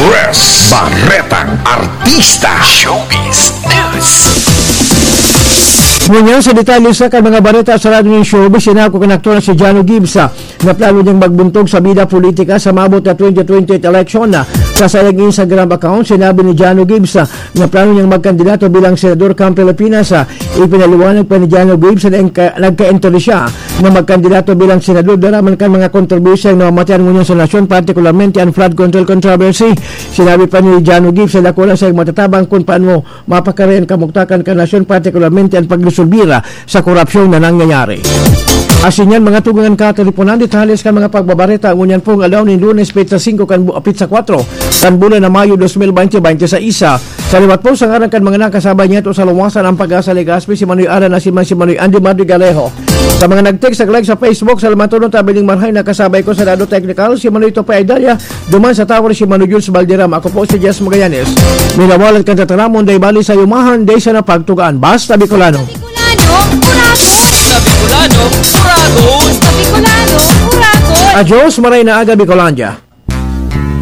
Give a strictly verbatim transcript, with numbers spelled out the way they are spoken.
Press. Baretang Artista. Showbiz News. Ngunyan sa detalye sa kan mga bareta sa Radyo ng Showbiz, sinako kan aktor na si Jano Gibbs, ah, na plano niyang magbuntog sa bida politika sa maabot na twenty twenty-eight election. Ah, sa sayang Instagram account, sinabi ni Jano Gibbs, ah, na plano niyang magkandidato bilang senador kan Pilipinas. Ah, ipinaliwanag pa ni Jano Gibbs na nagka-, nagka-entry siya na magkandidato bilang senador dara man kan mga kontrobersyang namamatian ngunyan sa nasyon, partikularmente an flood control controversy. Sinabi pa ni Jano Gibbs na dakula sa matatabang kung paano mapakari an kamugtakan kan nasyon, partikularmente an pagresolbir sa korupsyon na nangyayari. Asin yan, mga tugang kan kateleponan, detalye sa mga pagbabareta ngunyan pong aldaw nin Lunes, petsa singko kan bu-, petsa kwatro kan bulan na Mayo, dos mil bente bente sa isa. Sa liwat po, sa ngaran kan mga nakasabay niya ito sa luwasan, ang Pag-asa Legazpi, si Manoy Alan, asin man si Manoy Andy Madrigalejo. Sa mga nag-text, nag-like sa Facebook, sa lamang tulong tabi ning marhay, nakasabay ko sa Dado Technical, si Manoy Topay Dalia, duman sa Tower, si Manoy Jules Valderrama. Ako po si Jess Magallanes. Minawalat kan tataramon, dai bali sa yumahan, dai sa napagtugaan. Basta Bicolano. Bicolano, Uragon! Sa Bicolano, Uragon! Sa Bicolano, Uragon! Adios, maray na aga, Bicolandia.